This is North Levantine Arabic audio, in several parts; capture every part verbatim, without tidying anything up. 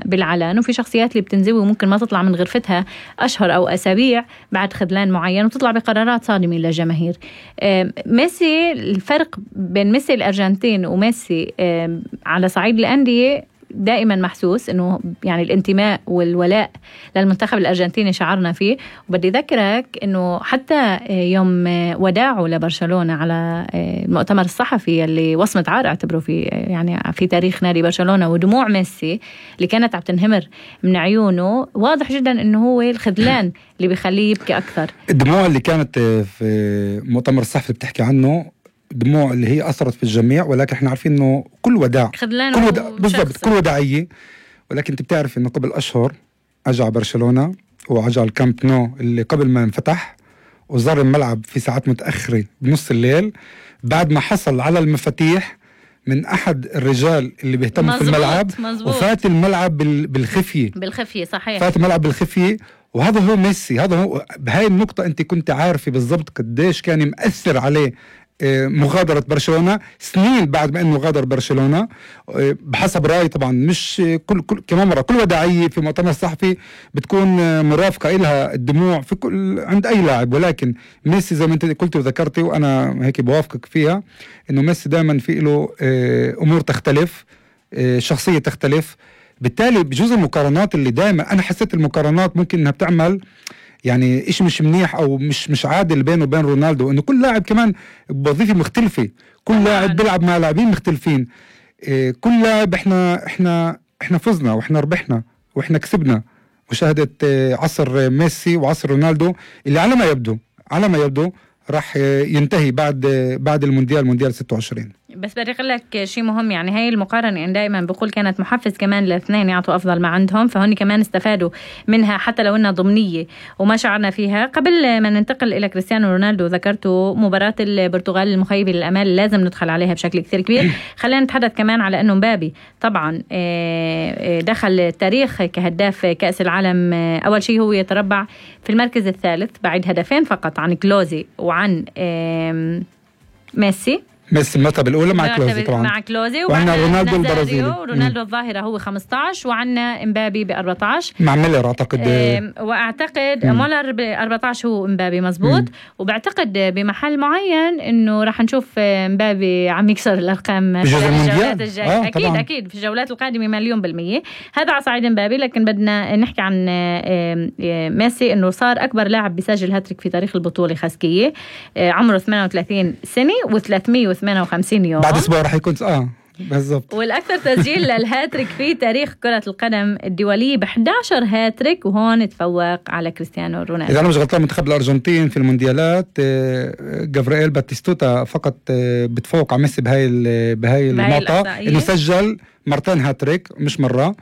بالعلن، وفي شخصيات اللي بتنزوي وممكن ما تطلع من غرفتها أشهر أو أسابيع بعد خذلان معين وتطلع بقرارات صادمة للجماهير. ميسي، الفرق بين ميسي الأرجنتين وميسي على صعيد الأندية دائما محسوس، انه يعني الانتماء والولاء للمنتخب الارجنتيني شعرنا فيه. وبدي ذكرك انه حتى يوم وداعه لبرشلونة على المؤتمر الصحفي اللي وصمة عار اعتبروا في يعني في تاريخ نادي برشلونة، ودموع ميسي اللي كانت عم تنهمر من عيونه، واضح جدا انه هو الخذلان اللي بيخليه يبكي اكثر. الدموع اللي كانت في مؤتمر الصحفي اللي بتحكي عنه دموع اللي هي أثرت في الجميع، ولكن احنا عارفين انه كل وداع كل وداع بالضبط كل وداعية. ولكن انت بتعرف انه قبل اشهر اجى على برشلونة واجى على الكامب نو اللي قبل ما انفتح، وزار الملعب في ساعات متأخرة بنص الليل بعد ما حصل على المفاتيح من احد الرجال اللي بيهتموا في الملعب مزبوط. وفات الملعب بالخفية بالخفية صحيح، فات الملعب بالخفية. وهذا هو ميسي، هذا هو بهاي النقطة انت كنت عارفة بالضبط قديش كان مؤثر عليه مغادرة برشلونة سنين بعد ما انه غادر برشلونة. بحسب رأيي طبعا مش كل, كل كمان مرة كل وداعية في مؤتمر الصحفي بتكون مرافقة إلها الدموع في كل عند أي لاعب، ولكن ميسي زي ما انت قلت وذكرتي وأنا هيك بوافقك فيها، إنه ميسي دائما في له أمور تختلف، شخصية تختلف. بالتالي بجوز المقارنات اللي دائما أنا حسيت المقارنات ممكن إنها بتعمل يعني إيش مش منيح أو مش مش عادل بينه وبين رونالدو، إنه كل لاعب كمان بوظيفة مختلفة، كل لاعب بيلعب مع لاعبين مختلفين. إيه كل لاعب إحنا إحنا إحنا فزنا وإحنا ربحنا وإحنا كسبنا. مشاهدة إيه عصر ميسي وعصر رونالدو اللي على ما يبدو على ما يبدو راح ينتهي بعد بعد المونديال مونديال ستة وعشرين. بس بدي أقول لك شيء مهم، يعني هاي المقارنة يعني دائما بقول كانت محفز كمان للاثنين يعطوا أفضل ما عندهم، فهون كمان استفادوا منها حتى لو إنها ضمنية وما شعرنا فيها. قبل ما ننتقل إلى كريستيانو رونالدو، ذكرتوا مباراة البرتغال المخيبة للأمال لازم ندخل عليها بشكل كثير كبير. خلينا نتحدث كمان على إنه مبابي طبعا دخل التاريخ كهداف كأس العالم. أول شيء هو يتربع في المركز الثالث بعد هدفين فقط عن كلوزي وعن ميسي. ميسي المرتبة الأولى مع كلوزي طبعا مع كلوزي، وعنا رونالدو البرازيلي ورونالدو الظاهرة هو خمسة عشر، وعنا امبابي ب أربعة عشر مع ميلر أعتقد. اه واعتقد مولر ب أربعة عشر هو امبابي مزبوط. مم. وبعتقد بمحل معين انه راح نشوف امبابي عم يكسر الارقام في الجولات الجاية. آه اكيد طبعاً. اكيد في الجولات القادمة مليون بالمية. هذا على صعيد امبابي، لكن بدنا نحكي عن ميسي انه صار اكبر لاعب بيسجل هاتريك في تاريخ البطولة خاسكية. عمره ثمانية وثلاثين سنة وثلاثمية وثمانية وخمسين يوم، بعد اسبوع راح يكون اه بالضبط. والاكثر تسجيل للهاتريك في تاريخ كرة القدم الدولية ب إحدى عشر هاتريك، وهون تفوق على كريستيانو رونالدو. اذا انا مش غلطان منتخب الارجنتين في المونديالات جافرييل باتيستوتا فقط بتفوق على ميسي بهاي بهاي النقطة، انه سجل مرتين هاتريك مش مرة.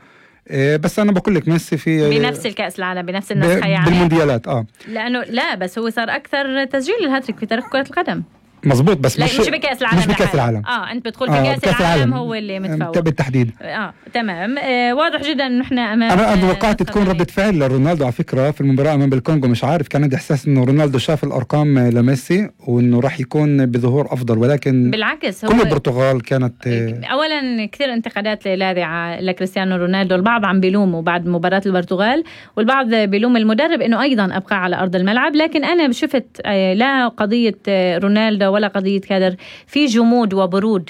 بس انا بقول لك ميسي في بنفس الكأس العالم بنفس النسخة يعني بالمونديالات اه لانه لا بس هو صار اكثر تسجيل للهاتريك في تاريخ كرة القدم. مظبوط، بس مش مش بكأس العالم مش بكأس العالم. اه انت بتدخل في آه كأس العالم, العالم هو اللي متفوق بالتحديد. اه تمام. آه واضح جدا انه احنا امام انا توقعت تكون ردة فعل لرونالدو على فكرة في المباراة امام الكونغو، مش عارف كان عندي احساس انه رونالدو شاف الارقام لميسي وانه راح يكون بظهور افضل، ولكن بالعكس كل البرتغال كانت آه اولا كثير انتقادات لاذعة لكريستيانو رونالدو. البعض عم بيلومه بعد مباراة البرتغال، والبعض بيلوم المدرب انه ايضا ابقى على ارض الملعب. لكن انا شفت آه لا قضية آه رونالدو ولا قضية كادر، في جمود وبرود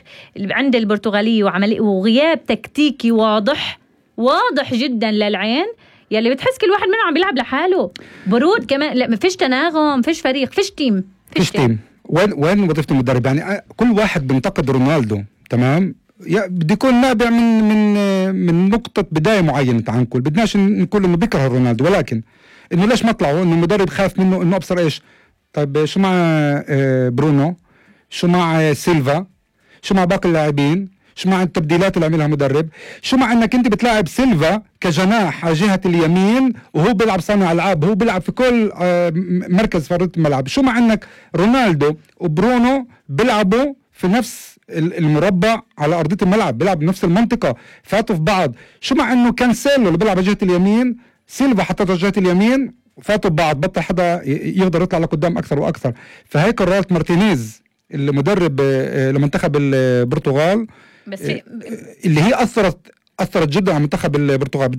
عند البرتغالية وعملي وغياب تكتيكي واضح واضح جدا للعين، يلي بتحس كل واحد منهم عم بيلعب لحاله. برود كمان، لا فيش تناغم، فيش فريق، فيش تيم فيش تيم. وين وين وظيفة المدرب؟ يعني كل واحد بينتقد رونالدو تمام، بدي يكون نابع من من من نقطة بداية معينة عنكل. بدناش نقول انه بيكره رونالدو، ولكن انه ليش ما طلعوا انه المدرب خاف منه انه ابصر ايش. طيب شو مع برونو، شو مع سيلفا، شو مع باقي اللاعبين، شو مع التبديلات اللي عملها مدرب، شو مع انك انت بتلاعب سيلفا كجناح على جهة اليمين وهو بيلعب صانع العاب، هو بيلعب في كل مركز في ارض الملعب. شو مع انك رونالدو وبرونو بيلعبوا في نفس المربع على ارضية الملعب، بيلعب بنفس المنطقة، فاتوا في بعض. شو مع انه كانسيلو اللي بيلعب على جهة اليمين، سيلفا حطته على جهة اليمين، فاتوا ببعض، بطل حدا يقدر يطلع لقدام اكثر واكثر. فهي قرارات مارتينيز المدرب لمنتخب البرتغال، بس اللي هي اثرت اثرت جدا على منتخب البرتغال.